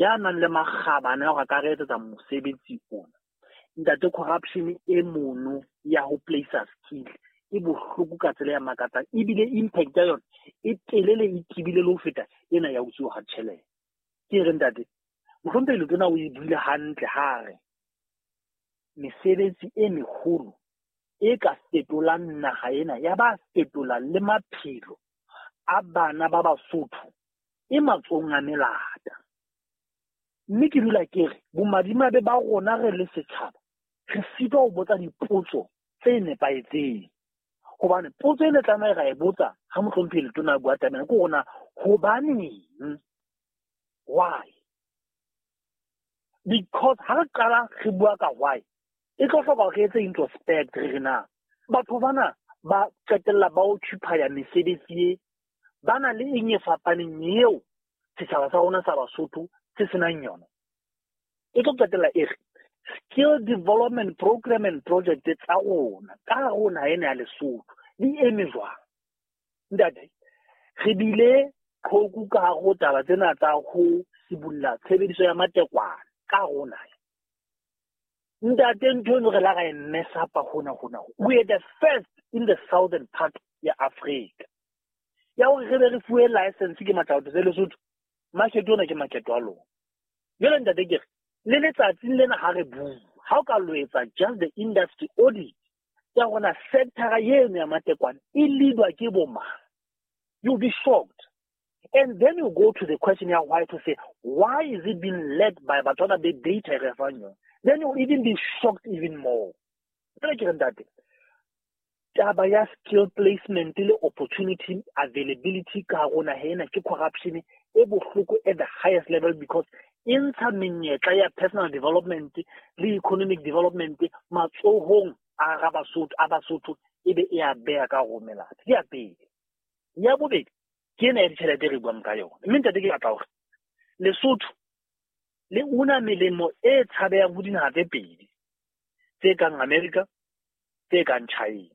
Ya nang le makgabane a hore a ka re etsetsa mosebetsi ona. Ntate, corruption e mono ya ho place skill e bohloko ka tsela ya makatsang, ebile impact ya yona e telele, e tebile le ho feta ena ya utsuwa ha tjhelete. Ke re, ntate mohlomphehi Letona o e buile hantle ha re mesebetsi e meholo e ka fetolang naha ena, ya ba fetola le maphelo a bana ba Basotho, e matsohong a melata. Mme ke dula ke re bomadimabe ba rona re le setjhaba, re sitwa ho botsa dipotso tse nepahetseng, hobane potso e ne tlameha ra e botsa ha mohlomphehi Letona a bua taba ena ke hore na hobaneng, why? Because ha re qala re bua ka why, e tlo hloka hore re etse introspect, re re na batho bana ba qetella ba occupy mesebetsi e ba na le eng e fapaneng eo setjhaba sa rona sa Basotho se senang yona. E tlo qetella e re skill development program and project tsa rona ka hare ho naha ena ya Lesotho di eme jwang? Ntate, re bile qhoku ka hare ho taba tsena tsa ho sibulla tshebediso ya matekwane ka hare ho naha. Ntate, ntho eno re la ra e mess up hona hona. We are the first in the southern part ya Africa ya hore re be re fuwe license ke matlaotho tse Lesotho. Market ona ke market wa lona. Jwale, ntate, ke re le letsatsing lena ha re bua, ha o ka lo etsa just the industry audit ya rona, sector eno ya matekwane e leadwa ke bo mang, you'll be shocked. And then you go to the question ya why, to say why is it being led by batho ba be data e re fang yona, then you'll even be shocked even more. Jwale ke re, ntate, taba ya skill placement le opportunity availability ka hare ho naha ena ke corruption e bohloko at the highest level, because e ntsha menyetla ya personal development le economic development matsohong a ra Basotho, a Basotho, e be e a beha ka ho melata. Ke ya pele. Ya bobedi ke ena ya ditjhelete re buang ka yona. Mme, ntate, ke batla hore Lesotho le una melemo e tshabehang ho dinaha tse pedi tse kang America, tse kang China.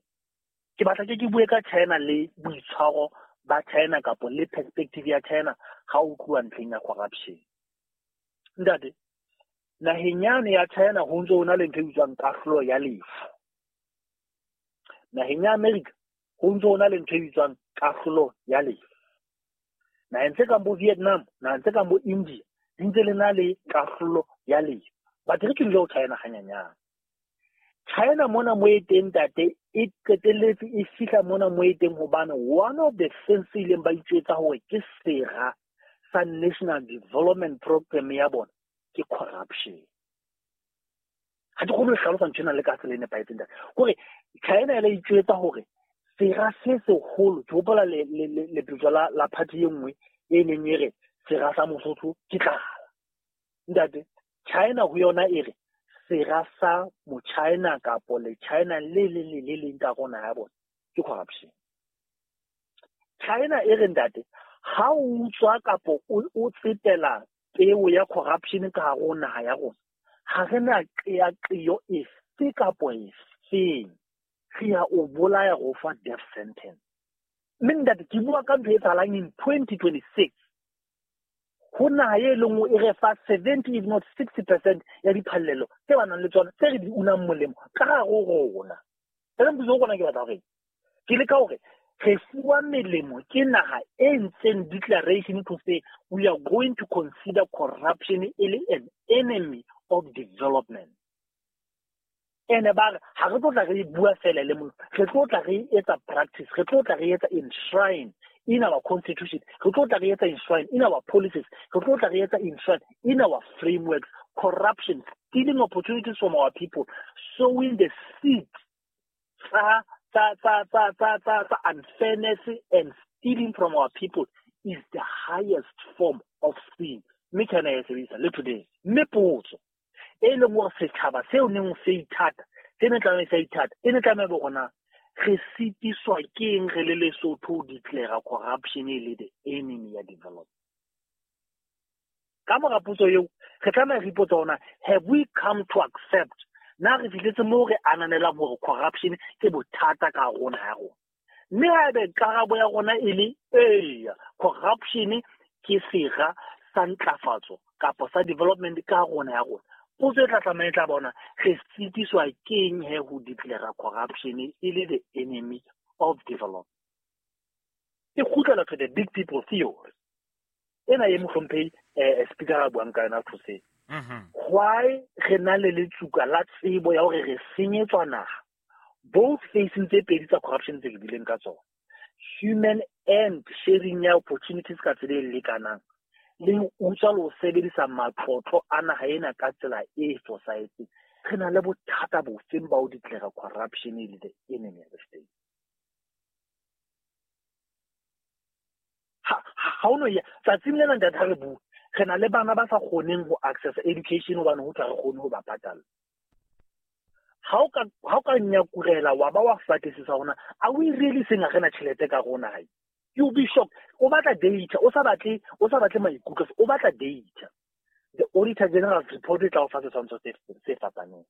Ke batla ke bue ka China le boitshwaro ba China kapo le perspective ya China ha o tluwa ntlheng ya corruption. Ntate, naheng yane ya China ho ntso ho na le ntho e bitswang kahlolo ya lefu. Naheng ya America ho ntso ho na le ntho e bitswang kahlolo ya lefu. Naheng tse kang bo Vietnam, naheng tse kang bo India, di ntse le na le kahlolo ya lefu. But re ke dule ho China hanyanyane. China mona mo e teng, ntate, e qetelletse e fihla mona mo e teng hobane one of the things tse ileng ba itjwetsa hore ke sera sa national development program ya bona ke corruption. Ha ke kgone ho hlalosa ntho ena le ka tsela e nepahetseng, ntate. Kore China e la itjwetsa hore sera se seholo, ke hopola lepetjo la party e nngwe e neng e re sera sa Mosotho ke tlala. Ntate, China ho yona e re sera sa mo-China kapo le China le le le le leng ka rona ya bona ke corruption. China e re, ntate, ha o utswa kapo o tsetela peo ya corruption ka hare ho naha ya rona, ha re na qeaqeo efe kapo efeng, re ya o bolaya, go fa death sentence. Mme, ntate, ke bua ka ntho e etsahalang in 2026 ho naha e leng e re fa 70 if not 60% ya diphallelo tse ba nang le tsona, tse re di unang molemo ka hare ho rona. Ere mpotso rona, ke batla hore ke leka hore re fuwa melemo ke naha e ntseng declaration to say we are going to consider corruption e le an enemy of development. Ene ba re ha re tlo tla re bua fela le motho, re tlo tla re etsa practice, re tlo tla re etsa enshrine in our constitution, re tlo tla re etsa enshrine in our policies, re tlo tla re etsa enshrine in our frameworks corruption, stealing opportunities from our people, sowing the seeds tsa unfairness and stealing from our people is the highest form of sin. Mme China ya e sebedisa le today. Mme potso e leng gore setjhaba seo neng se ithata, se ne tlameha se ithata, e ne tlameha bo rona, re sitiswa ke eng re le Lesotho ho declare corruption e le the enemy ya development? Ka mora potso eo, re tlameha re ipotsa hona, have we come to accept, na re fihletse moo re ananelang hore corruption ke bothata ka rona ya rona? Mme haebe karabo ya rona e le eya, corruption ke sera sa ntlafatso. kapa sa development ka rona ya rona. Potso e tla tlameha e tla bona re sitiswa keng he ho declare corruption e le the enemy of development. E kgutlela to the big people theory. Ena e mohlomphehi speaker a buang ka yona thuse. Why re na le letsuka la tsebo ya hore re senyetswa naha both facing tse pedi tsa corruption tse ke bileng ka tsona, human and sharing ya opportunities ka tsela e lekanang, le ho utswa le ho sebedisa matlotlo a naha ena ka tsela e fosahetseng. Re na le bothata bofeng ba ho declare corruption e le the enemy of the state? Ha o no ya tsatsing lena ntate ha re bua, re na le bana ba sa kgoneng ho access education hobane ho tla re kgone ho ba patala. Ha o ka nyakurela wa ba wa fatlisisa hona, are we really saying ha re na tjhelete ka rona hae? You'll be shocked. O batla data, o sa batle maikutlo, o batla data. The Auditor General's report e tla o fa setshwantsho se fapaneng.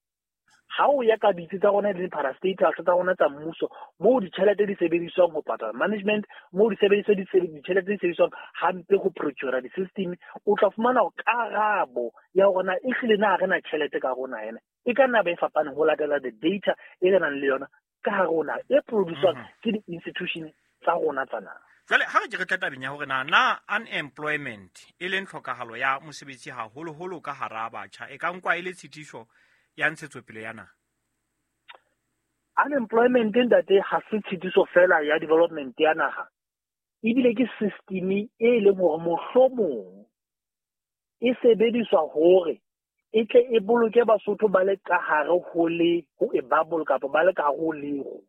Ha o ya ka ditsi tsa rona le parastatals tsa rona tsa mmuso, moo ditjhelete di sebediswang ho patala management, moo di sebediswa ditjhelete di sebediswang hampe ho procure di-system, o tla fumana karabo ya hore na ehlile na re na tjhelete ka rona ena. E ka nna ba e fapaneng ho latela the data e re nang le yona ka hare ho naha e produce-wang ke di-institution tsa rona tsa naha. Jwale ha re ke re tla tabeng ya hore na unemployment e leng tlhokahalo ya mosebetsi haholoholo ka hara batjha e ka nkwa e le tshitiso ya ntshetsopele ya naha? Unemployment ntate ha se tshitiso fela ya development ya naha, ebile ke system e leng hore mohlomong e sebediswa hore e tle e boloke Basotho ba le ka hare ho le ho e bubble kapa ba le ka hare ho lero,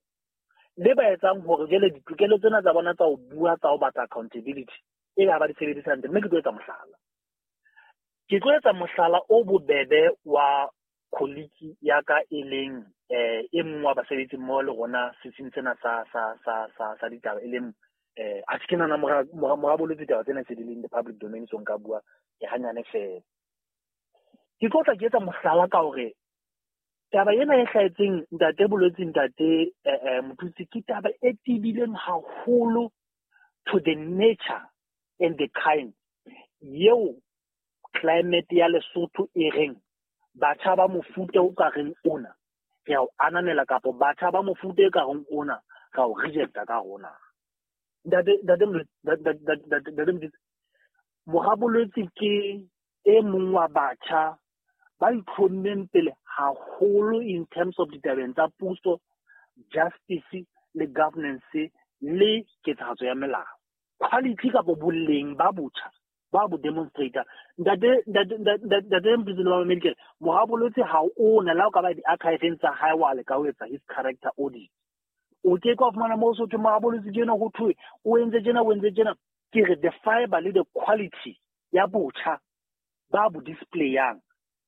le ba etsang hore jwale ditokelo tsena tsa bona tsa ho bua tsa ho batla accountability e be ha ba di sebedisa hantle. Mme ke tlo etsa mohlala. Ke tlo etsa mohlala o bobebe wa colleague ya ka e leng e mong wa basebetsi mmoho le rona setsing sena sa ditaba e leng a ke nana mora boletse ditaba tsena se di leng the public domain, so nka bua ke hanyane fela. Ke tlo tla ke etsa mohlala ka hore taba ena e hlahetseng ntate Bolwetse, ntate Mothusi, ke taba e tebileng haholo to the nature and the kind eo climate ya Lesotho e reng batjha ba mofuta o ka reng ona re a o ananela kapa batjha ba mofuta e ka reng ona ra o rejecta ka rona. Ntate Mothusi, mora Bolwetse ke e mong wa batjha ba itlhommeng pele haholo in terms of ditabeng tsa puso, justice le governance le ketsahatso ya melao. Quality kapa boleng ba botjha ba bo demonstrator. Ntate Mothusi le ba medical, mora Bolwetse ha o na la o ka ba di-archiveng tsa hae wa leka ho etsa his character audit. O ke ka fumana moo so thwe mora Bolwetse tjena ho thwe o entse tjena o entse tjena. Ke re the fiber le the quality ya botjha ba bo displayang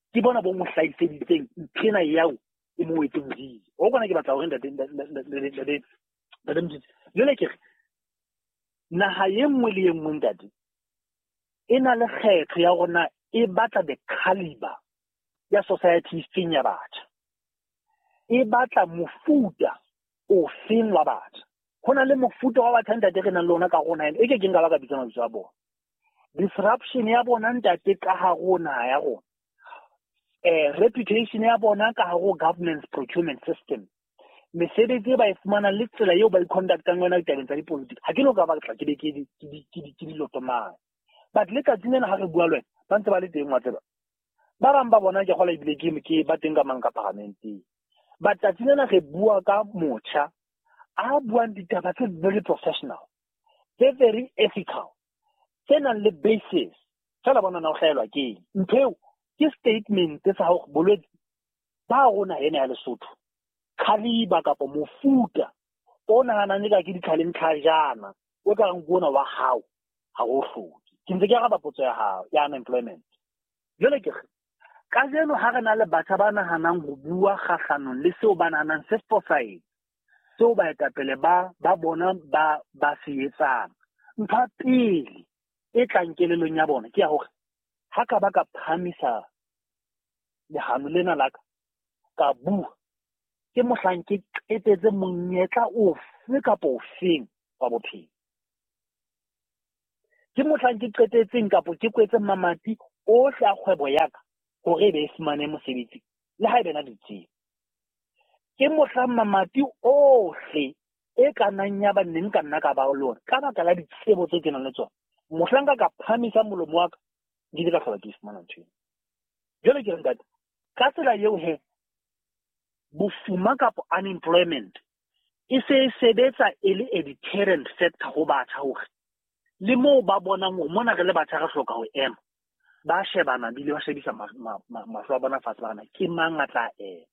ke bona bo mo hlahiseditseng nthena yao e mo wetseng hodimo. O kona ke batla hore ntate Mothusi, jwale ke re naha e nngwe le e nngwe ntate e na le kgetho ya hore na e batla the caliber ya society feng ya batjha, e batla mofuta o feng wa batjha. Ho na le mofuta wa batjha ntate re nang le ona ka rona e ke keng ka ba ka bitsa mabitso a bona. Disruption ya bona ntate ka hare ho naha ya rona, reputation ya bona ka hare ho governance procurement system, mesebetsi e ba e fumanang le tsela eo ba i-conductang yona ditabeng tsa dipolitiki, ha ke no ka batla ke be ke di lotomane. But le tsatsing lena ha re bua le wena ba ntse ba le teng wa tseba. Ba bang ba bona ke kgola ebile ke ba teng ka mang ka paramenteng. But tsatsing lena re bua ka motjha a buang ditaba tse very professional, tse very ethical, tse nang le basis. Fela bona na o hlaelwa ke eng? Ntho eo ke statement sa hore bolwetse ba rona ena ya Lesotho caliber kapa mofuta o nahanang eka ke ditlhaleng tlhajana o ka reng ke ona wa hao ha o hloke. Ke ntse ke araba potso ya hao ya unemployment. Jwale ke re kajeno ha re na le batjha ba nahanang ho bua kgahlanong le seo ba nahanang se fosahetse, seo baetapele ba bona ba se etsang, ntho ya pele e tlang kelellong ya bona ke ya hore ha ka ba ka phahamisa lehano lena la ka ka bua, ke mohlang ke qetetse monyetla ofe kapa ofeng wa bophelo. Ke mohlang ke qetetseng kapa ke kwetse mamati ohle a kgwebo ya ka hore e be e fumane mosebetsi le ha e bena ditsebo. Ke mohlang mamati ohle e ka nnang ya ba neng ka nna ka ba le ona ka baka la ditsebo tse ke nang le tsona. Mohlang ka phamisa molomo wa ka, ke ile ka hlola ke fumana ntho eno. Jwale ke re ntate, ka tsela eo he, bofuma kapa unemployment e se e sebetsa e le a deterrent factor ho batjha hore le moo ba bonang hore mona re le batjha re hloka ho ema, ba shebana bile ba shebisa mahlo a bona fatshe, ba rena ke mang a tla ema,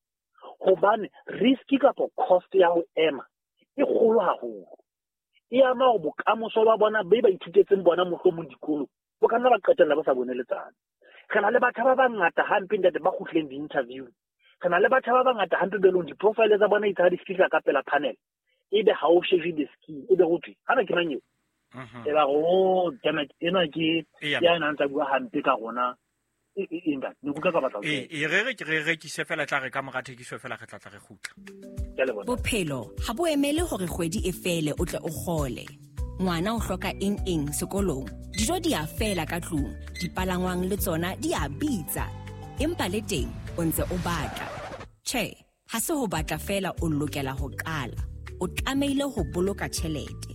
hobane risk kapa cost ya ho ema e kgolo haholo. E ama hore bokamoso ba bona be ba ithutetseng bona mohlomong dikolong bo ka nna ba qetella ba sa bone letsatsi. Re na le batjha ba bangata hampe ntate ba kgutlileng di-interview. Re na le batjha ba bangata hampe be leng di-profile tsa bona itse ha di fihla ka pela panel, ebe ha o shebe the skill, ebe ho thwe hana ke mang eo? E ba re, oh damn it, ena ke ya nang tsa bua hampe ka rona. E ntate, ne kutlwa ka batla ho E re re ke re rekise fela, tla re ka mora thekiso fela re tla tla re kgutla. Ke a leboha. Bophelo ha bo emele hore kgwedi e fele o tle o kgole. Ngwana o hloka eng eng sekolong, dijo di a fela ka tlung, dipalangwang le tsona di a bitsa. Empa le teng o ntse o batla. Tjhe, ha se ho batla fela o lokela ho qala. O tlamehile ho boloka tjhelete.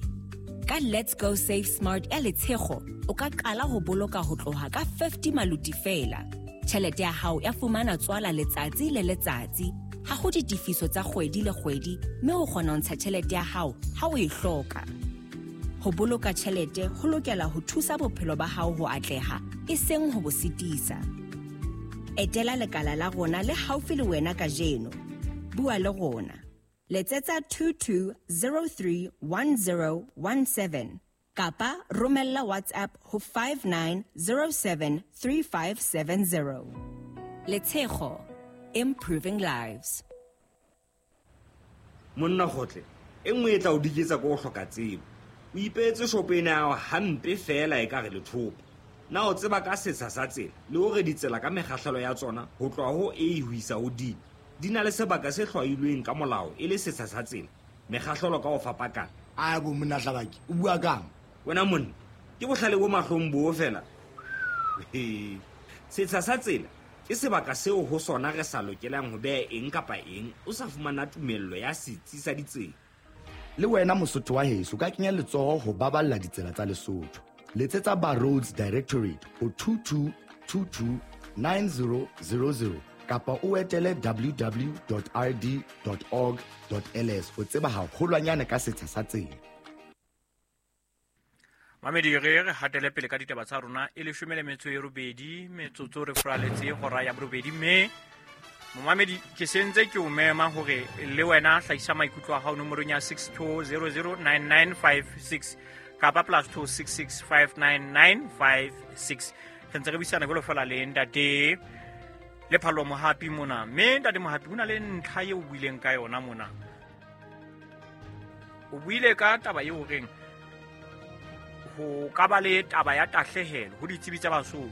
Ka Let's Go Save Smart ya Letshego, o ka qala ho boloka ho tloha ka 50 maluti fela. Tjhelete ya hao ya fumana tswala letsatsi le letsatsi. Ha ho ditefiso tsa kgwedi le kgwedi, mme o kgona ho ntsha tjhelete ya hao ha o e hloka. Ho boloka tjhelete ho lokela ho thusa bophelo ba hao ho atleha, e seng ho bo sitisa. Etela lekala la rona le haufi le wena kajeno. Bua le rona. Letsetsa 22031017 kapa romella WhatsApp ho 59073570. Letshego, improving lives. Monna kgotle, e nngwe e tla o diketsa ko o hloka tsebo. O ipeetse shopo ena ya hao hampe fela e ka re lethopo. Na o tseba ka setsha sa tsela le hore ditsela ka mekgahlelo ya tsona ho tloha ho A ho isa ho D di na le sebaka se hlwailweng ka molao e le setsha sa tsela, mekgahlelo ka ho fapakana. A bo monna Hlabaki, o bua kang? Wena monna, ke bohlale bo mahlong bo fela. Setsha sa tsela ke sebaka seo ho sona re sa lokelang ho beha eng kapa eng o sa fumana tumello ya setsi sa ditsela. Le wena Mosotho wa heso ka kenya letsoho ho baballa ditsela tsa Lesotho. Letsetsa ba Roads Directorate ho 22229000 kapa o etele www.rd.org.ls ho tseba haholwanyane ka setsha sa tsela. Mamedi, re re hatele pele ka ditaba tsa rona e 18 metsotso re furaletse hora ya borobedi, mme momamedi ke sentse ke o mema hore le wena hlahisa maikutlo a hao nomorong ya 62009956 kapa +266 59956. Re ntse re buisana jwalo fela le ntate le Phallo Mohapi mona, mme ntate Mohapi ho na le ntlha eo o buileng ka yona mona. O buile ka taba eo horeng ho ka ba le taba ya tahlehelo ho ditsebi tsa Basotho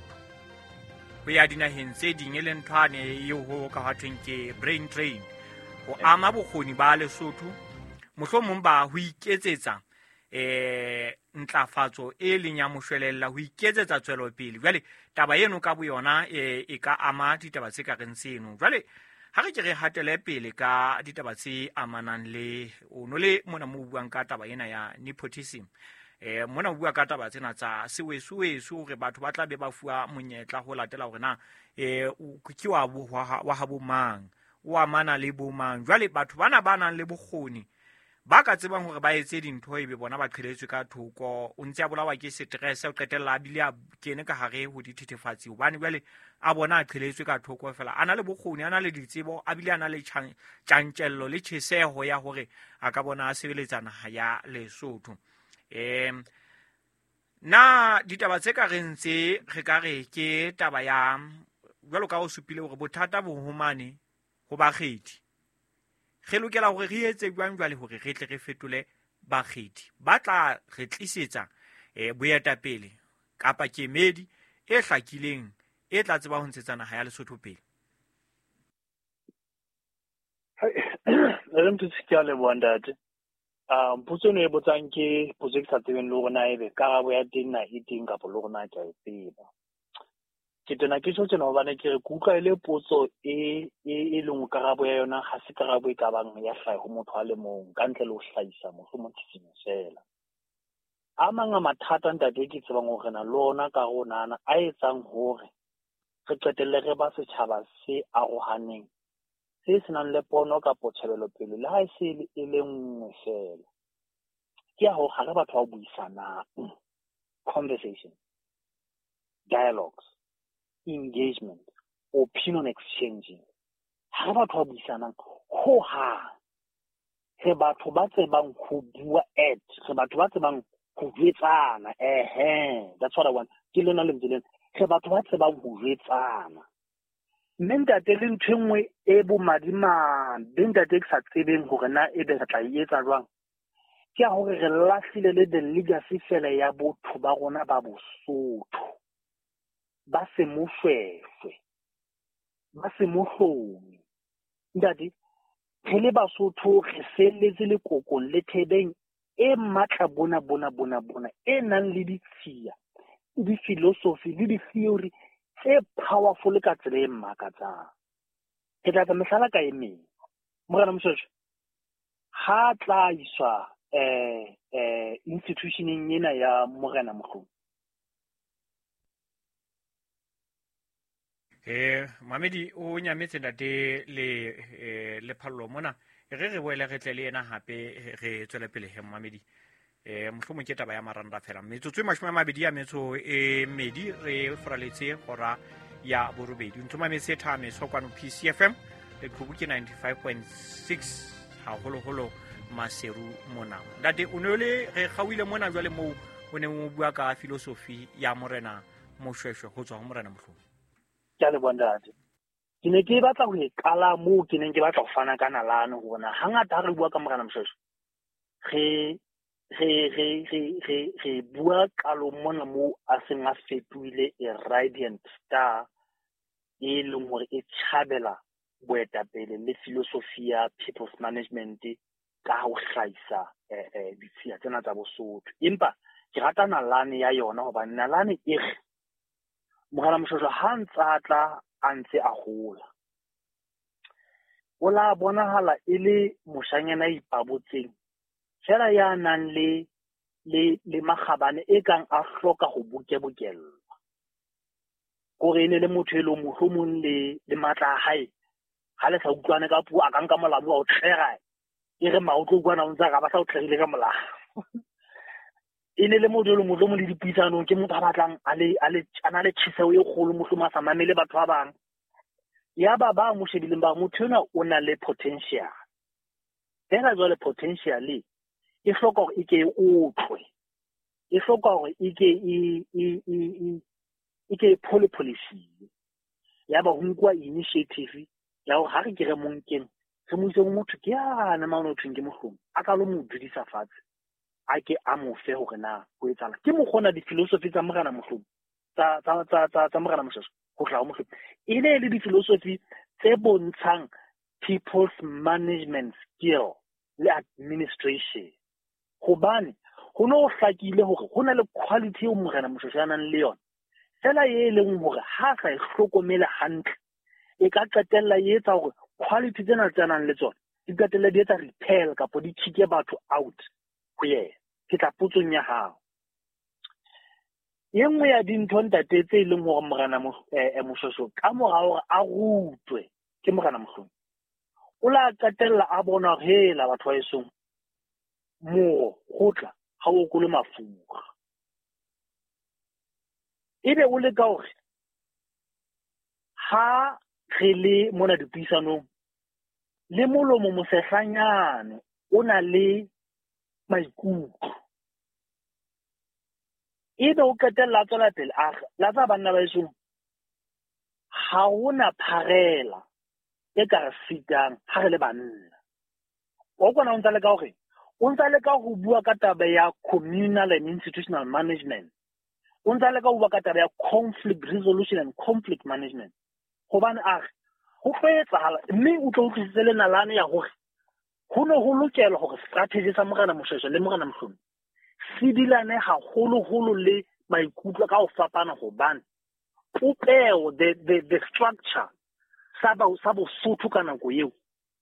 ho ya dinaheng tse ding, e leng nthwane eo ho ka ho thweng ke brain drain, ho ama bokgoni ba Lesotho mohlomong ba ho iketsetsa ntlafatso e leng ya moshwelella, ho iketsetsa tswelopele. Jwale taba eno ka boyona e ka ama ditaba tse ka reng tseno. Jwale ha re ke re hatele pele ka ditaba tse amanang le o no le mona mo buang ka taba ena ya nepotism. Mona o bua ka taba tsena tsa sewesuwesu hore batho ba tla be ba fuwa monyetla ho latela hore na ke wa wa habo mang, o amana le bo mang. Jwale batho bana ba nang le bokgoni ba ka tsebang hore ba etse dintho ebe bona ba qheletswe ka thoko, o ntse a bolawa ke stress, o qetella a bile a kene ka hare ho dithethefatsi hobane jwale a bona a qheletswe ka thoko fela. A na le bokgoni, a na le ditsebo, a bile a na le tjantjello le tjheseho ya hore a ka bona a sebeletsa naha ya Lesotho. Na ditaba tse ka reng tse re ka re ke taba ya jwalo ka o supile hore bothata bo homane ho bakgethi, re lokela hore re etse jwang jwale hore re tle re fetole bakgethi ba tla re tlisetsa boetapele kapa kemedi e hlakileng e tla tseba ho ntshetsa naha ya Lesotho pele? Re motho ke a leboha ntate. Potso eno e botsang ke potso e ke sa tsebeng le hore na ebe karabo ya teng na e teng kapa le hore na ke a e tseba. Ke tena ke tjho tjena hobane ke re ke utlwa e le potso e e leng karabo ya yona ha se karabo e ka bang ya hlaha ho motho a le mong ka ntle le ho hlahisa mohlomong tshisinyo fela. A mang a mathata ntate ke tsebang hore na le ona ka rona a etsang hore re qetelle re ba setjhaba se arohaneng, se senang le pono kapo tjhebelopele le ha e se e le nngwe fela. Ke ya hore ha re batho ba buisanang, conversation, dialogues, engagement, opinion exchanging. Ha re batho ba buisanang hohang. Re batho ba tsebang ho bua at, re batho ba tsebang ho jwetsana. That's what I want. Ke lona lentswe lena. Re batho ba tsebang ho jwetsana. Mme ntate le ntho e nngwe e bomadimabe ntate ke sa tsebeng hore na ebe re tla e etsa jwang, ke ya hore re lahlile le the legacy fela ya botho ba rona ba Bosotho, ba se moshweshwe, ba se mohlomi. Ntate, re le Basotho re felletse lekokong le thebeng e matla bona bona bona bona e nang le ditshiya, le di-philosophy le di-theory tse powerful ka tsela e makatsang. Ke tla etsa mehlala ka e meng. Morena Moshoeshoe ha tla iswa institutioneng ena ya Morena Mohlomi. Mamedi o nyametse ntate le Phallo mona. Re boele re tle le yena hape re tswele pele he Mamedi. Mohlomong ke taba ya maranda fela. Metsotso e 22 re foraletse hora ya borobedi. Ntho mametse thameso kwano PCFM le qhubu ke 95.6 haholoholo Maseru mona. Ntate o ne le re kgauile mona jwale moo o neng o bua ka philosophy ya Morena Moshoeshoe ho tswa ho Morena Mohlomi. Ke a leboha ntate. Ke ne ke batla ho e qala moo ke neng ke batla ho fana ka nalane hore na hangata ha re bua ka Morena Moshoeshoe re bua qalong mona moo a seng a fetohile a radiant star e leng hore e tjhabela boetapele le philosophy ya people's management ka ho hlahisa ditshiya tsena tsa Bosotho. Empa ke rata nalane ya yona hobane nalane e re Morena Moshoeshoe ha ntse a tla a ntse a hola, o la bonahala e le moshanyana a ipabotseng fela ya nang le makgabane e kang a hloka ho bokebokellwa. Kore e ne le motho e leng mohlomong le matla a hae ha le sa utlwane ka puo a ka nka molamu wa o tlera e re maotlo kwana o ntse a ba sa o tlerile ka molamu. E ne le motho e leng mohlomong le dipuisanong ke motho a batlang a na le tjheseho e kgolo, mohlomong a sa mamele batho ba bang. Ya ba ba mo shebileng ba motho enwa o na le potential. Fela jwale potential e hloka hore e ke e otlwe, e hloka hore e ke e pholepholesiwe. Ya ba ho nkuwa initiative ya hore ha re ke re mo nkeng re mo ise ho motho ke yane mane ho thweng ke Mohlomi, a ka lo mo dudisa fatshe a ke a mo fe hore na ho etsahala. Ke mokgona di-philosophy tsa Morena Mohlomi tsa Morena Moshoeshoe ho hlaha ho Mohlomi e ne le di-philosophy tse bontshang people's management skill le administration. Hobane ho no hlakile hore ho na le quality eo Morena Moshoeshoe a nang le yona fela e leng hore ha sa e hlokomele hantle e ka qetella e etsa hore quality tsena tse nang le tsona di qetella di etsa repel kapo di kicke batho out ho yena. Ke tla potsong ya hao. E nngwe ya dintho ntate tse leng hore Morena Moshoeshoe ka mora hore a rutwe ke Morena Mohlomi o la qetella a bona hore hela batho ba esong moro kgotla ha o okole mafura. Ebe o leka hore ha re le mona dipuisanong le molomo mosehlanyane o na le maikutlo. Ebe o qetella a tswela pele a re la tsa banna ba esong ha hona pharela e ka re sitang ha re le banna. O kona o ntsa leka hore o ntsa leka ho bua ka taba ya communal and institutional management, o ntsa leka ho bua ka taba ya conflict resolution and conflict management. Hobane a re ho tlo etsahala mme o tlo utlwisise le nalane ya hore ho ne ho lokela hore strategy sa Morena Moshoeshoe le Morena Mohlomi se dilane haholoholo le maikutlo ka ho fapana, hobane Popeo, the structure sa Bosotho ka nako eo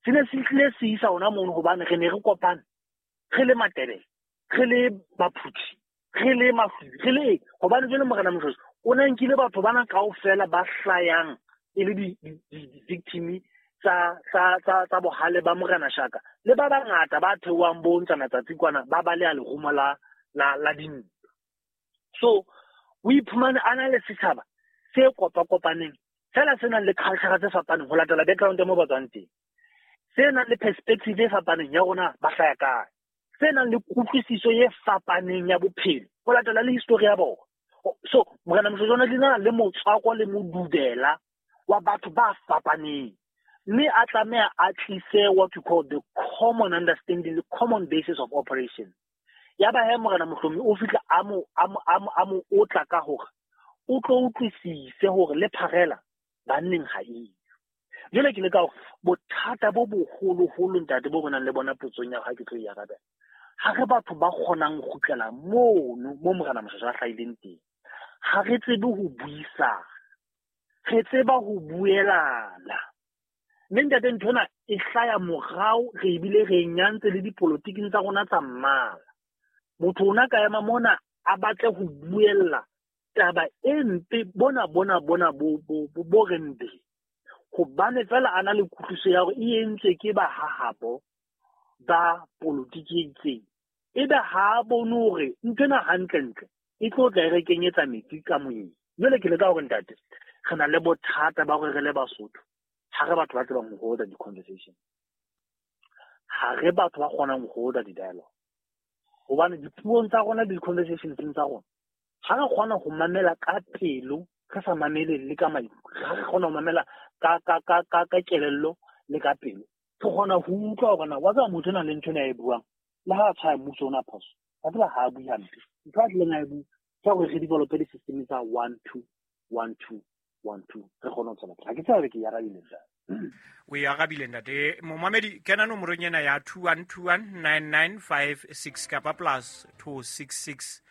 se ne se tlile se isa ona mono, hobane re ne re kopane re le Matebele, re le Baphuthi, re le Mahlubi, re le hobane jwale Morena Moshoeshoe o ne nkile batho bana kaofela ba hlayang e le di-victim tsa bohale ba Morena Shaka le ba bangata ba theohang bo ntsana tsatsi kwana ba baleha lerumo la dintwa. So o iphumane a na le setjhaba se kopa-kopaneng fela se nang le culture tse fapaneng ho latela background ya mo ba tswang teng, se nang le perspective e fapaneng ya rona ba hlaya kae, se nang le kutlwisiso e fapaneng ya bophelo ho latela le history ya bona. So Morena Moshoeshoe o na le motswako le modubela wa batho ba fapaneng, mme a tlameha a tlise what you call the common understanding, the common basis of operation. Ya ba he Morena Mohlomi o fihla a mo otla ka hore o tlo utlwisise hore le pharela banneng ha eyo. Jwale ke le ka hore bothata bo boholoholo ntate bo bonang le bona potsong ya ha ke tlo e arabela, ha re batho ba kgonang ho kgutlela mono mo Morena Moshoeshoe a hlahileng teng. Ha re tsebe ho buisana, re tseba ho buelana. Mme ntate ntho ena e hlaya morao, re ebile re e nyantse le dipolotiking tsa rona tsa mmala. Motho ona ka ema mona a batle ho buella taba e mpe bona bo re mpe, hobane fela a na le kutlwiso ya hore e entswe ke ba hahabo ba politiki e itseng, ebe ha a bone hore ntho ena hantlentle e tlo tla e re kenyetsa metsi ka moyeng. Jwale ke le ka hore ntate re na le bothata ba hore re le Basotho ha re batho ba tsebang ho holda di-conversation, ha re batho ba kgonang ho holda di-dialogue, hobane dipuong tsa rona le di-conversations tsa rona ha re kgona ho mamela ka pelo, re sa mamele le ka maikutlo, ha re kgona ho mamela ka kelello le ka pelo, re kgona ho utlwa hore na wa tseba motho ona le ntho ena a e buang, le ha a tshwaya mmuso ona phoso, wa tseba ha a bue hampe. Ntho a tlileng a e bua ke hore re develope di-system tsa 1 2 1 2 1 2, re kgone ho tswela pele. Ha ke tsebe ke e arabile ntate. O e arabile ntate. Momamedi, kena nomorong ena ya 21219956 kapa plus 266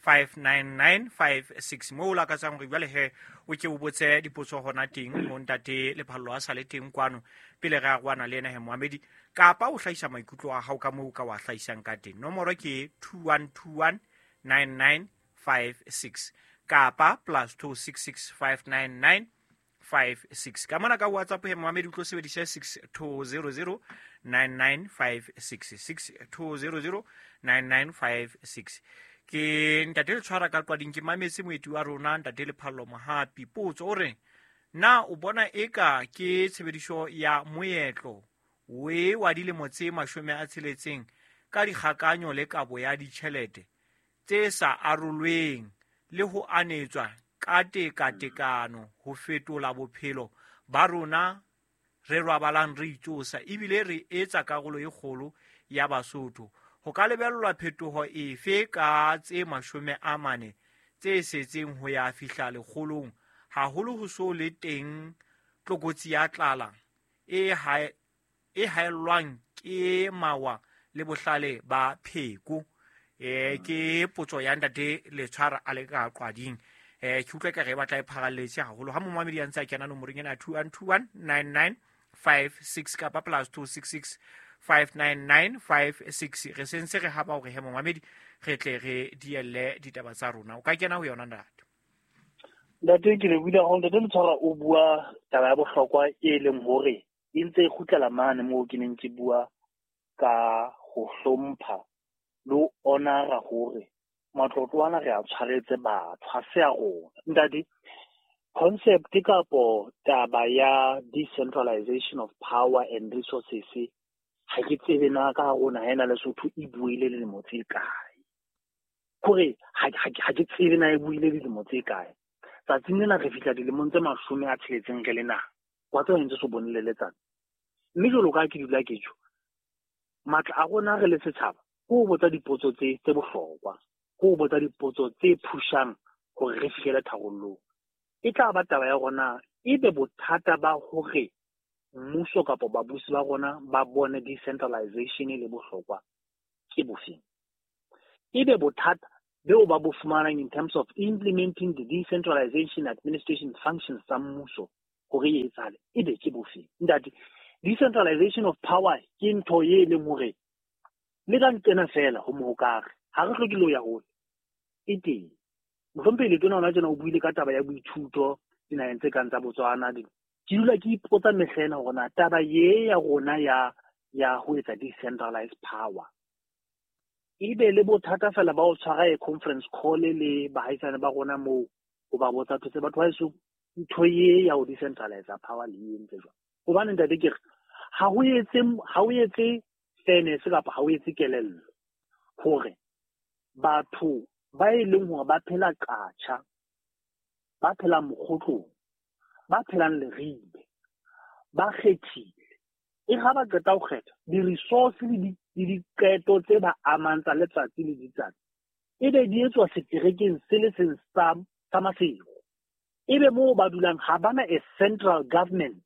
59956 moo o lakatsang hore jwale he o ke o botse dipotso hona teng ho ntate Lephallo a sa le teng kwano pele re aroana le ena he moamedi, kapa o hlahisa maikutlo a hao ka moo o ka wa hlahisang ka teng. Nomoro ke 21219956 kapa plus 266 59956. Ka mona ka WhatsApp he moamedi o tlo sebedisa 6200 9956 6200 9956. Ke ntate le tshwara ka qwading, ke mametse moeti wa rona ntate Lephallo Mohapi. Potso o re, na o bona eka ke tshebediso ya moetlo we wa dilemo tse 60 ka dikgakanyo le kabo ya ditjhelete tse sa arolweng le ho anetswa ka tekatekano ho fetola bophelo ba rona re robalang re itsosa ebile re etsa karolo e kgolo ya Basotho? Ho ka lebellwa phetoho efe ka tse 40 tse setseng ho ya fihla lekgolong, haholo ho so le teng tlokotsi ya tlala e haellwang ke mawa le bohlale ba pheko? Ke potso ya ntate Letshwara a le ka qwading. Ke utlwa ka re batla e pharalletse haholo. Ha momamedi a ntse a kena nomorong ena 21219956 kapa plus 266 59956, re sentse re haba hore he momamedi re tle re dielle ditaba tsa rona. O ka kena ho yona ntate. Ntate ke le buile hore ntate Letshwara o bua taba ya bohlokwa e leng hore e ntse e kgutlela mane moo ke neng ke bua ka ho hlompha le ho honora hore matlotlo ana re a tshwaretse batho, ha se a rona. Ntate, concept kapo taba ya decentralization of power and resources ha ke tsebe na ka rona ha ena Lesotho e buile dilemo tse kae. Kore ha ke tsebe na e buile dilemo tse kae. Tsatsing lena re fihla dilemong tse 60 re le naha. Wa tseba ntse so bone le letsatsi. Mme jwalo ka ke dula ke tjho, matla a rona re le setjhaba ke ho botsa dipotso tse bohlokwa, ke ho botsa dipotso tse phushang hore re fihlele tharollong. E tla ba taba ya rona ebe bothata ba hore mmuso kapa babusi ba rona ba bone decentralization e le bohlokwa ke bofeng? Ebe bothata Beo ba bo fumanang in terms of implementing the decentralization administration functions tsa mmuso hore e etsahale, ebe ke bofe? Ntate, decentralization of power ke ntho e leng hore le ka nqena fela ho mohokare, ha re hloke le ho ya hole, e teng. Mohlomphehi Letona hona tjena o buile ka taba ya boithuto dinaheng tse kang tsa Botswana. Ke dula ke ipotsa mehla ena hore na taba ye ya rona ya ho etsa decentralized power ebe le bothata fela ba ho tshwara e conference call le bahaisane ba rona moo ho ba botsa thotse batho ba heso, ntho ye ya ho decentralize power le e entse jwang? Hobane ntate ke re ha o etse fairness kapa ha o etse kelello hore batho ba e leng hore ba phela Qacha, ba phelang Mokgotlong, ba phelang Leribe, ba kgethile, e ga ba qeta ho kgetha, di-resource le diqeto tse ba amang tsa letsatsi le letsatsi ebe di etswa seterekeng se le seng sa Maseru, ebe moo ba dulang ha bana a central government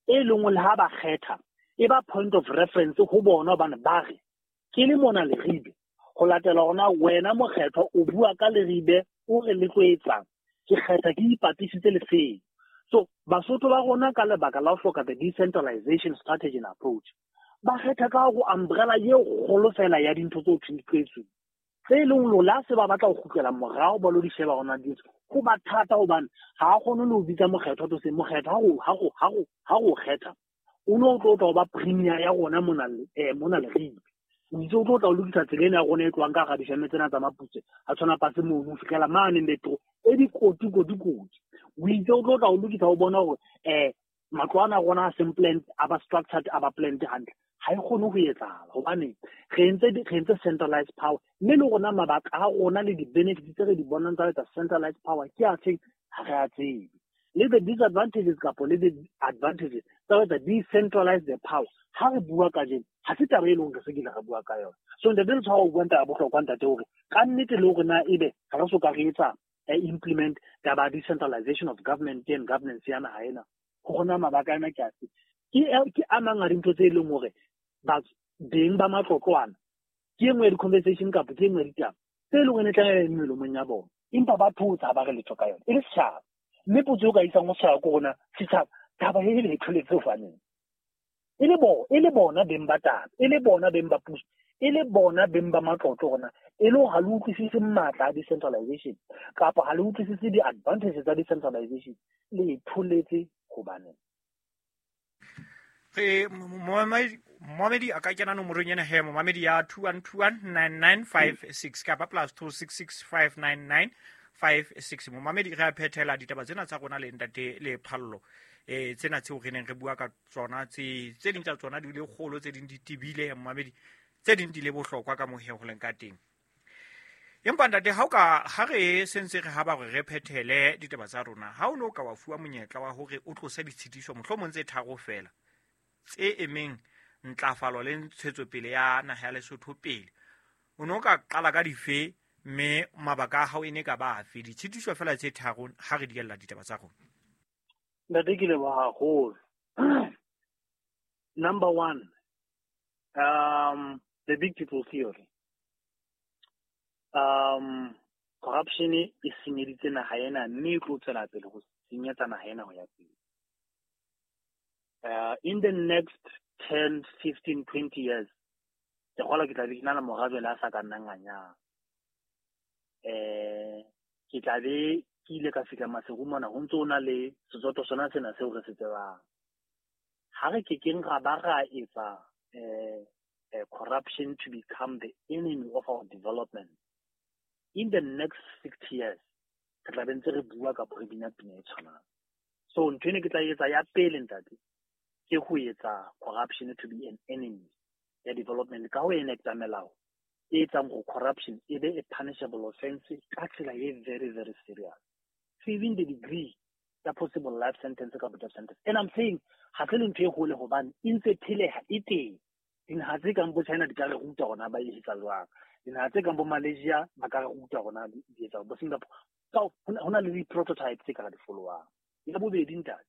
e leng le ha ba kgetha e ba point of reference ho bona, hobane ba re ke le mona Leribe ho latela hona wena mokgethwa o bua ka Leribe, o re le tlo etsang, ke kgetha ke ipapisitse le seo. So Basotho ba rona, ka lebaka la ho hloka the decentralization strategy and approach, ba kgetha ka go umbrella ye kgolo fela ya dintho tse ho thweng di tlo etsuwa, tse e leng hore le ha se ba batla ho kgutlela morao ba lo di sheba hona di etswa, ho ba thata hobane ha a kgone le ho bitsa mokgethwa to se mokgethwa ha go kgetha o no tlo tla ho ba premier ya rona mona Leribe, o itse o tlo tla o lokisa tsela ena ya rona e tlohang ka hara difeme tsena tsa Maputse a tshwana pase mono ho fihlela mane metro e dikoti koti koti, o itse o tlo tla o lokisa o bona hore matlo ana a rona a seng planned, a ba structured, a ba planned hantle. Ha e kgone ho etsahala hobane re entse centralized power, mme le rona mabaka a rona le di-benefits tse re di bonang tsa ho etsa centralized power ke a feng, ha re a tsebe, le the disadvantages kapo le the advantages tsa ho etsa decentralize the power. Ha re bua kajeno ha se taba e leng re se kile re bua ka yona. So ntate le tshwara o bua taba ya bohlokwa, ntate, hore ka nnete le hore na ebe ha re so ka re etsa implement taba ya decentralization of government and governance ya naha ena, ho rona mabaka ana ke afe? Ke a mang a dintho tse e leng hore beng ba matlotlo ana ke e nngwe ya di-conversation kapa ke e nngwe ya ditaba tse e leng hore e tla melomong ya bona, empa ba thotse ha ba re letho ka yona e le setjhaba. Mme potso e o ka isang ho setjhaba ke rona setjhaba, taba e le tholetse hobaneng e le bona beng ba taba, e le bona beng ba puso, e le bona beng ba matlotlo rona, e le hore ha le utlwisise matla a decentralization kapa ha le utlwisise di-advantages tsa decentralization, le tholetse hobaneng? Re momamedi a ka kena nomorong ena he, momamedi, ya 21219956 kapa +26659956. Momamedi, re a phethela ditaba tsena tsa rona le ntate le Phallo, tsena tseo re neng re bua ka tsona, tse ding tsa tsona di le kgolo, tse ding di tebile, momamedi, tse ding di le bohlokwa ka mohe ho leng ka teng. Empa ntate, ha o ka ha re sentse re haba hore re phethele ditaba tsa rona, ha o ne o ka wa fuwa monyetla wa hore o tlose ditshitiso mohlomong tse tharo fela tse emeng ntlafalo le ntshetsopele ya naha ya Lesotho pele, o ne o ka qala ka dife, mme mabaka a hao e ne ka ba afe? Ditshitiso fela tse tharo ha re diella ditaba tsa rona. Ntate, ke leboha haholo. Number one, the big people theory. Corruption e senyeditse naha ena, mme e tlo tswela pele ho senyetsa naha ena ho ya pele. In the next 10, 15, 20 years, ke kgolwa ke tla be ke na le mora jwale a sa ka nnang a nyala. Ke tla be ke ile ka fihla Maseru mona ho ntso ho na le setsoto sona sena seo re se tsebang. Ha re kekeng ra ba ra etsa corruption to become the enemy of our development, in the next 60 years re tla be ntse re bua kapa re bina pina e tshwanang. So ntho ene ke tla etsa ya pele, ntate, ke ho etsa corruption to be an enemy ya development ka ho enacta melao e etsang gore corruption e be a punishable offense ka tsela e very very serious, even the degree ya possible life sentence kapa death sentence. And I'm saying ha se le ntho e hole hobane e ntse pheleha, e teng. Dinaha tse kang bo China di ka re ruta hore ba e etsa jwang, dinaha tse kang bo Malaysia ba ka re ruta hore di etsa, bo Singapore, ka ho na le di-prototype tse ka re di followang. Ya bobedi, ntate,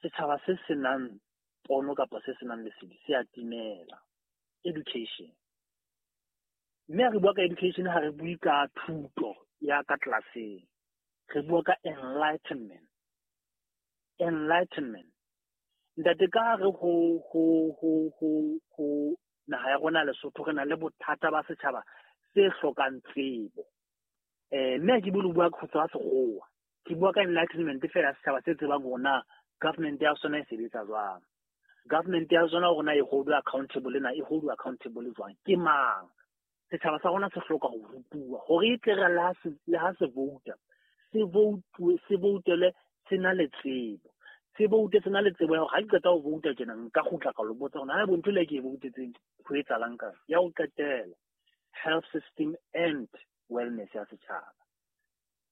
setjhaba se senang pono kapa se senang lesedi se a timela. Education. Mme ha re bua ka education, ha re bue ka thuto ya ka tlelaseng, re bua ka enlightenment. Enlightenment, ntate, ka re ho naha ya rona Lesotho, re na le bothata ba setjhaba se hlokang tsebo. Mme ha ke bue le bua ka ho tseba sekgowa, ke bua ka enlightenment fela ya setjhaba se tsebang hore na government ya sona e sebetsa jwang, government ya sona hore na e hold accountable, na e hold accountable jwang, ke mang. Setjhaba sa rona se hloka ho rutuwa hore e tle re le ha se vouta, se voutele se na le tsebo, se voute se na le tsebo ya hore ha ke qeta ho vouta tjena, nka kgutla ka lo botsa hore na bo ntho le ke e voutetseng ho etsahalang. Ka ya ho qetela, health system and wellness ya setjhaba.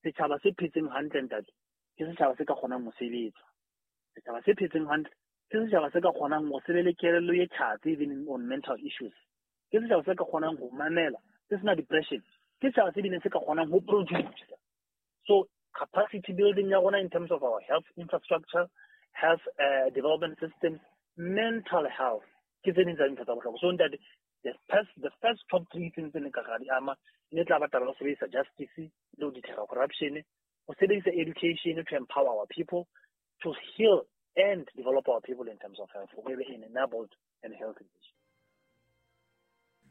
Setjhaba se phetseng hantle, ntate, ke setjhaba se ka kgonang ho sebetsa. Setjhaba se phetseng hantle ke setjhaba se ka kgonang ho se be le kelello e tjhatsi, even on mental issues. Ke setjhaba se ka kgonang ho mamela, se sena depression. Ke setjhaba se bileng se ka kgonang ho produce. So capacity building ya rona in terms of our health infrastructure, health development systems, mental health, ke tse ding tsa dintho tsa bohlokwa. So ntate, the first top three things tse ne ka ra di ama e ne tla ba taba ya ho sebedisa justice le ho deter corruption, ho sebedisa education to empower our people, to heal and develop our people in terms of health, hore e be an enabled and healthy nation.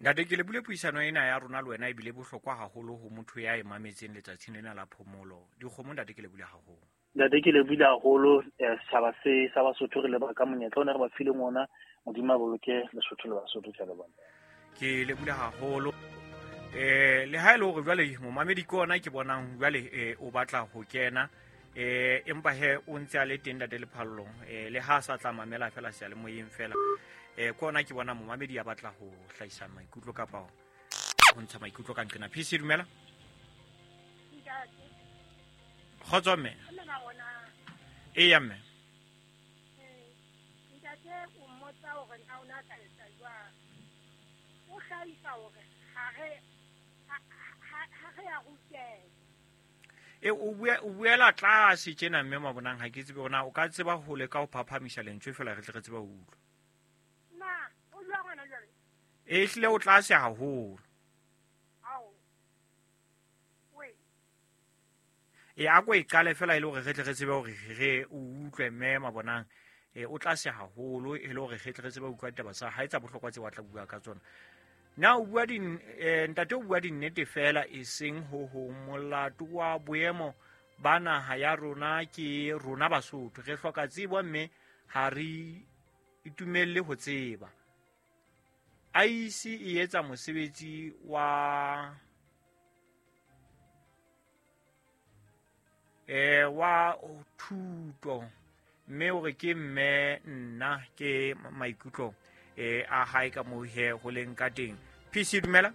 Ntate, ke lebule puisano ena ya rona le wena, ebile bohlokwa haholo ho motho ya e mametseng letsatsing lena la phomolo. Dikgomo, ntate, ke lebule haholo. Ntate, ke lebile haholo. Setjhaba se sa Basotho, re leboha ka monyetla ona re ba fileng ona. Modimo a boloke Lesotho le Basotho. Ke a leboha. Ke lebule haholo. Le ha e le hore jwale momamedi ke ona ke bonang jwale o batla ho kena, empa he o ntse a le teng, ntate Lephallong, le ha a sa tla mamela fela seyalemoyeng fela. Ke ona ke bona momamedi a batla ho hlahisa maikutlo kapa ho ntsha maikutlo ka nqena. PC, dumela. Ntate. Kgotso, mme. Mme ba Eya, mme. Ntate, o mmotsa hore na o na ka etsa jwang. O hlahisa hore ha re ya ruteha. E o buela tlase tjena, mme Mabonang. Ha ke tsebe hore na o ka tseba ho leka ho phaphamisa lentswe fela, re tle re tsebe ho utlwa. Na o jwang hona jwale? E hlile o tlase haholo. Ao we. E a ko e qale fela, e le hore re tle re tsebe hore re o utlwe, mme Mabonang. O tlase haholo, e le hore re tle re tsebe ho utlwa ditaba tsa hae tsa bohlokwa tse wa tla bua ka tsona. Na o bua di ntate, o bua dinnete fela, e seng ho ho molato wa boemo ba naha ya rona. Ke rona Basotho re hloka tsebo, mme ha re itumelle ho tseba. IEC e etsa mosebetsi wa thuto, mme o re ke mme nna ke maikutlo a hae ka moo he ho leng ka teng. PC, dumela,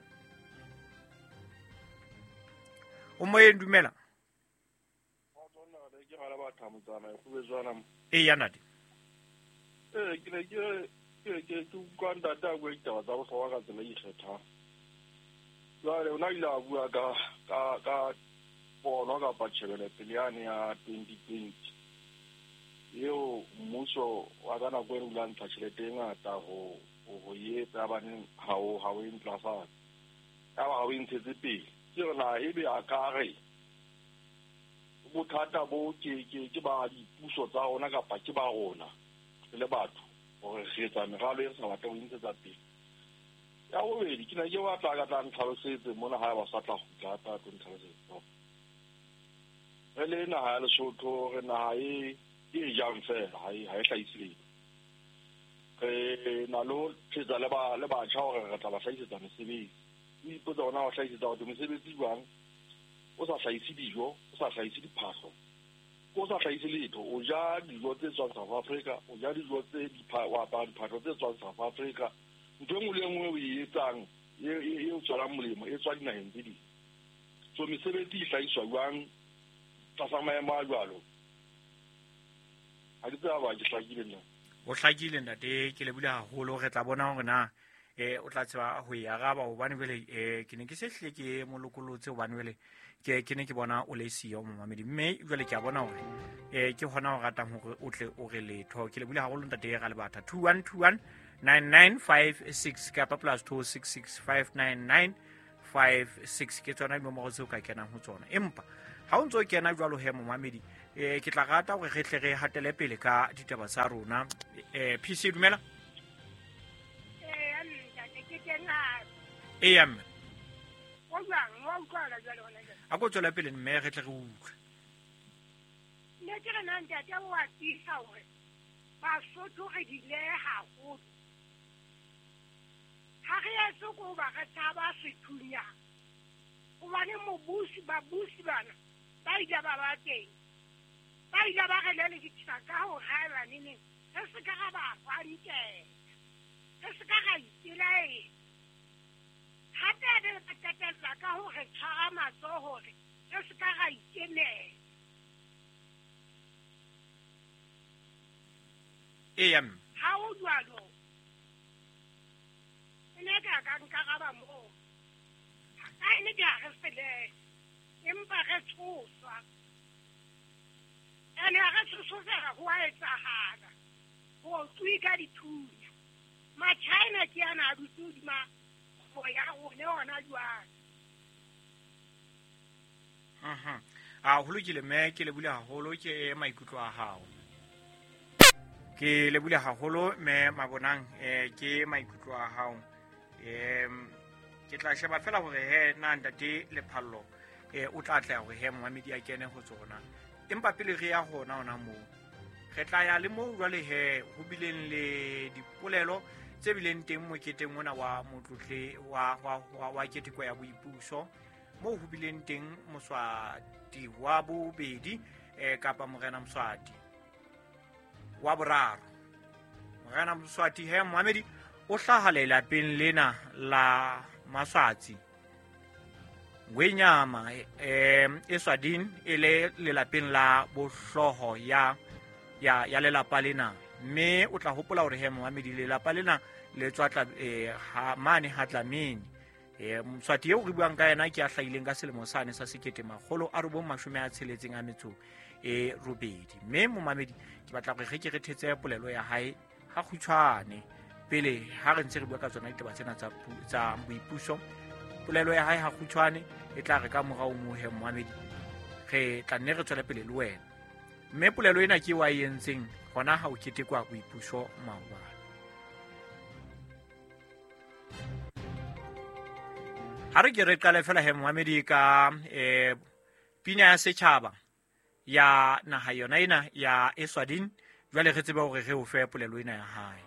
o moyeng, dumela. Ke gana batho motsana e kgobetswana. Eya, ntate. Ee, ke ne ke utlwa ntate a bua ditaba tsa bohlokwa ka tsela e ikgethang. Jwale o na ile a bua ka pono kapa tjhebelopele yane ya 2020 eo mmuso wa ka nako e re o ntsha tjhelete e ngata ho etsa ya baneng ha o e ntlafatse, ya ba ha o e ntshetse pele. Ke re na ebe a ka re bothata bo ke ba dipuso tsa rona kapa ke ba rona re le batho hore re etsa meralo e re sa batle ho e ntshetsa pele? Ya bobedi, ke ne ke batla ka tla ntlhalosetse mona, ha ba sa tla kgutla hape a tlo ntlhalosetsa. Re le naha ya Lesotho, re naha e jang fela, ha e hlahise letho. Re na le ho thetsa le batjha hore re tla ba hlahisetsa mesebetsi. O ipotsa hore na o hlahisetsa batho mesebetsi jwang o sa hlahise dijo, o sa hlahise diphahlo, o sa hlahise letho? O ja dijo tse tswang South Africa, o ja dijo tse o apara diphahlo tse tswang South Africa. Ntho e nngwe le e nngwe o e etsang e o tswelang molemo e tswa dinaheng tse ding. So mesebetsi e hlahiswa jwang tlasa maemo a jwalo? Ha ke tseba ba ke hlakile nna. O hlakile, ntate, ke lebile haholo. Re tla bona hore na o tla tseba ho e araba, hobane jwale ke ne ke se hlile ke mo lokolotse, hobane jwale ke ne ke bona o le siyo momamedi, mme jwale ke a bona hore ke hona o ratang hore o tle o re letho. Ke lebile haholo, ntate Ralebatha. 2121 9956 kapa +266 599. 56 ke tsona dinomoro tseo ka kenang ho tsona. Empa ha o ntso kena jwalo he momamedi, ke tla rata hore re tle re hatele pele ka ditaba tsa rona. PC dumela. Eya mme. O jwang, wa utlwala jwale hona jwale? A ko tswela pele mme re tle re utlwe. Ne ke re na ntate o a tiisa hore Basotho re dile haholo. Ha re etse ko ba re tshaba sethunya. Hobane mobusi, babusi bana ba ile ba ba teng. Ba ile ba re lelekisa ka ho haeba neneng. Re se ka ra ba hwantela. Re se ka ra ipelaetsa. Hape re ba qetella ka ho re tshwara matsoho hore re se ka ra ikemela. Eya mme. Ha o jwalo, e ne ka ka nkaraba moo. Ka e ne ke ha re sele, empa re tshoswa. Ene ha re tshoswa ho a etsahala. Ho tswe ka dithunya. Ma-China ke ana a dutse hodima kgwebo ya rona hona jwale. A ho lokile mme, ke lebule haholo ke maikutlo a hao. Ke lebule haholo mme Mabonang, ke maikutlo a hao. Ke tla sheba fela hore he na ntate Lephallo o tla tla hore he momamedi a kene ho tsona. Empa pele re ya hona hona moo, re tla ya le moo jwale he ho bileng le dipolelo tse bileng teng moketeng ona wa motlotle wa keteko ya boipuso, moo ho bileng teng Moswati wa bobedi kapa Morena Moswati wa boraro. Morena Moswati he momamedi o hlaha lelapeng lena la Maswatsi Ngwenyama Eswatini e le lelapeng la bohlooho ya lelapa lena. Mme o tla hopola hore he momamedi lelapa lena le tswa tla ha mane ha Dlamini. Moswati eo re buang ka yena ke a hlahileng ka selemo sane sa 1968. Mme momamedi ke batla hore re ke re thetse polelo ya hae ha kgutshwane pele ha re ntse re bua ka tsona ditaba tsena tsa boipuso. Polelo ya hae ha kgutshwane e tla re ka morao mohe momamedi re tla nne re tswele pele le wena. Mme polelo ena ke wa e entseng hona ha o ketekwa boipuso maobane. Ha re ke re qale fela he momamedi ka pina ya setjhaba ya naha yona ena ya Eswatini. Jwale re tsebe hore re o fe polelo ena ya hae.